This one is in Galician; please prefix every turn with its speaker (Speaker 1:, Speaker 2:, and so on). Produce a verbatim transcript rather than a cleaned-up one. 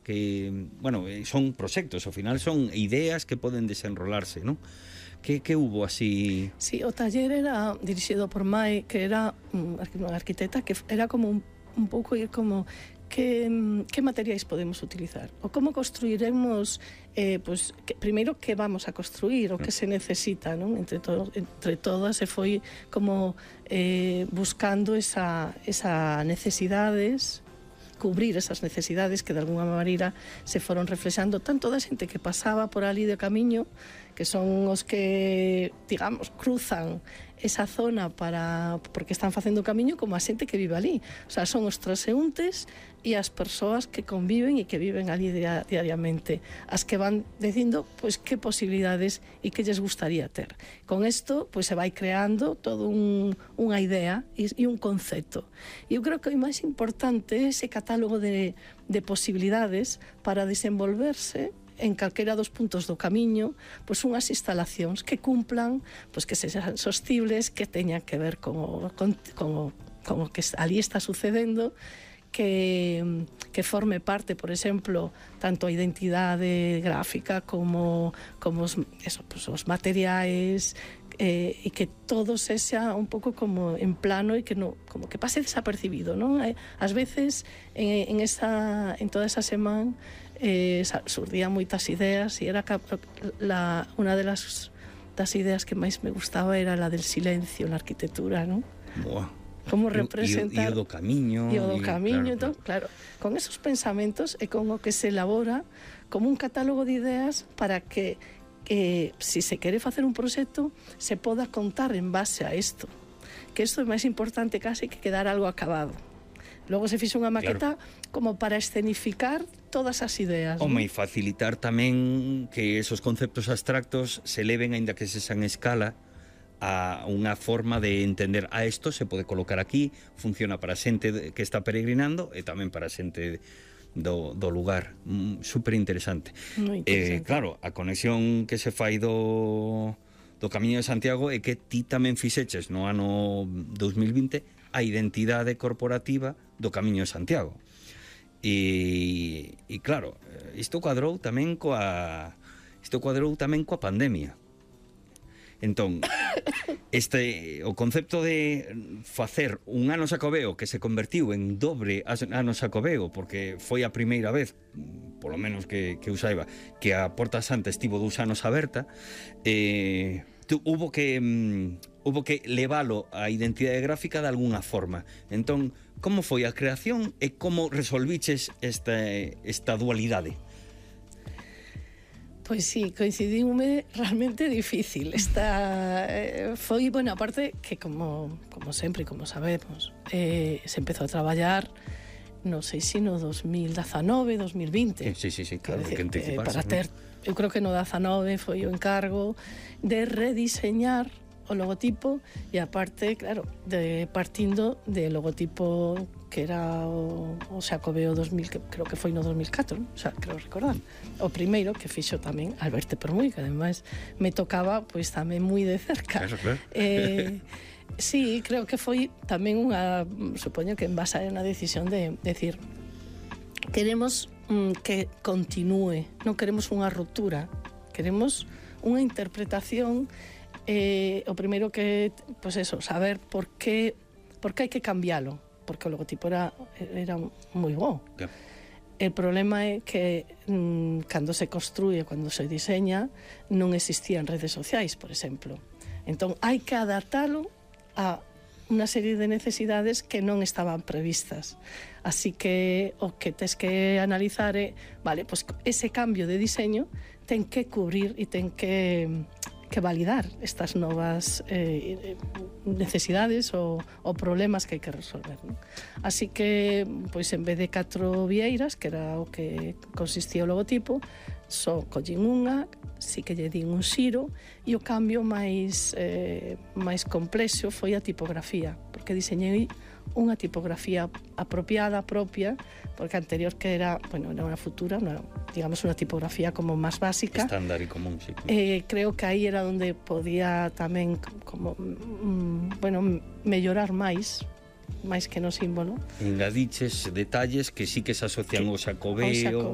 Speaker 1: que, bueno, son proxectos, ao final son ideas que poden desenrolarse, non? Que, que hubo así?
Speaker 2: Sí, o taller era dirixido por Mai, que era unha arquitecta, que era como un, un pouco ir como que, que materiais podemos utilizar ou como construiremos, eh, pues, que, primeiro que vamos a construir o que se necesita, non? Entre, to, entre todas se foi como eh, buscando esa, esa necesidades, cubrir esas necesidades que de alguna maneira se foron reflexando tanto da xente que pasaba por ali de camiño, que son os que, digamos, cruzan esa zona para porque están facendo o camiño, como a xente que vive ali. O sea, son os transeúntes e as persoas que conviven e que viven ali diariamente, as que van dicindo pois que posibilidades e que lles gustaría ter. Con isto pois se vai creando todo un, unha idea e, e un concepto. E eu creo que o máis importante é ese catálogo de, de posibilidades para desenvolverse en calquera dos puntos do camiño, pois unhas instalacións que cumplan, pois que sexan sostibles, que teñan que ver con o, con, con o, con o que ali está sucedendo, que, que forme parte, por exemplo, tanto a identidade gráfica como, como os, eso, pues, os materiais, eh, e que todo sexa un pouco como en plano e que no, como que pase desapercibido, non? Ás veces en, en, esa, en toda esa semana eh, surdían moitas ideas e era la, unha de las, das ideas que máis me gustaba era la del silencio na arquitectura, non?
Speaker 1: Boa.
Speaker 2: Como representar
Speaker 1: e o do camiño
Speaker 2: e o do
Speaker 1: y,
Speaker 2: camiño,
Speaker 1: claro,
Speaker 2: entón, claro, con esos pensamentos é con o que se elabora como un catálogo de ideas para que eh, si se quere facer un proxecto se poda contar en base a isto, que isto é máis importante casi que quedar algo acabado. Logo se fixo unha maqueta, claro, como para escenificar todas as ideas.
Speaker 1: Home, e facilitar tamén que esos conceptos abstractos se leven, aínda que se san escala, a unha forma de entender a isto se pode colocar aquí, funciona para a xente que está peregrinando e tamén para a xente do, do lugar. Mm, super interesante.
Speaker 2: interesante.
Speaker 1: Eh, claro, a conexión que se fai do, do Camiño de Santiago é que ti tamén fixeches no ano dos mil vinte a identidade corporativa do Camiño de Santiago. E, e claro, isto cuadrou tamén coa isto cuadrou tamén coa pandemia. Entón, este, o concepto de facer un ano Xacobeo que se convertiu en dobre ano Xacobeo, porque foi a primeira vez, polo menos que, que eu saiba, que a Porta Santa estivo dous anos aberta, eh, tu, hubo que um, hubo que levalo a identidade gráfica de alguna forma. Entón, como foi a creación e como resolviches esta, esta dualidade?
Speaker 2: Pois sí, coincidiume realmente difícil. Esta eh, foi, bueno, aparte que como, como sempre, como sabemos, eh, se empezou a traballar, non sei se no dos mil dezanove, dos mil vinte.
Speaker 1: Sí, sí, sí, claro,
Speaker 2: decir,
Speaker 1: que anticiparse.
Speaker 2: Eh, para ter, eu creo que no dezanove foi o encargo de rediseñar o logotipo e aparte, claro, de partindo de logotipo que era o, o Xacobeo dos mil, que creo que foi no dos mil catro, non? O sea, creo recordar. O primeiro que fixo tamén Alberto Permuy, que ademais me tocaba pois tamén moi de cerca.
Speaker 1: Claro, claro.
Speaker 2: Eh, sí, creo que foi tamén unha, supoño que en base a unha decisión de decir, queremos mm, que continúe, non queremos unha ruptura, queremos unha interpretación. Eh, o primeiro que, pois eso, saber por que por que hai que cambialo, porque o logotipo era, era moi bo.
Speaker 1: Yeah.
Speaker 2: El problema é que mmm, cando se construye, cando se diseña, non existían redes sociais, por exemplo. Entón, hai que adaptalo a unha serie de necesidades que non estaban previstas. Así que o que tes que analizar é, vale, pois ese cambio de diseño ten que cubrir e ten que que validar estas novas eh, necesidades ou, ou problemas que hai que resolver, non? Así que, pois, en vez de catro vieiras, que era o que consistía o logotipo, só collín unha, si que lle din un xiro, e o cambio máis, eh, máis complexo foi a tipografía, porque diseñei unha tipografía apropiada, propia, porque a anterior que era, bueno, era unha futura, una, digamos, unha tipografía como máis básica.
Speaker 1: Estándar e común, sí.
Speaker 2: Eh, creo que aí era onde podía tamén, como, mm, bueno, mellorar máis, máis que no símbolo.
Speaker 1: Engadiches detalles que sí que se asocian
Speaker 2: Que-
Speaker 1: ao Xacobeo,
Speaker 2: ao Xacobeo.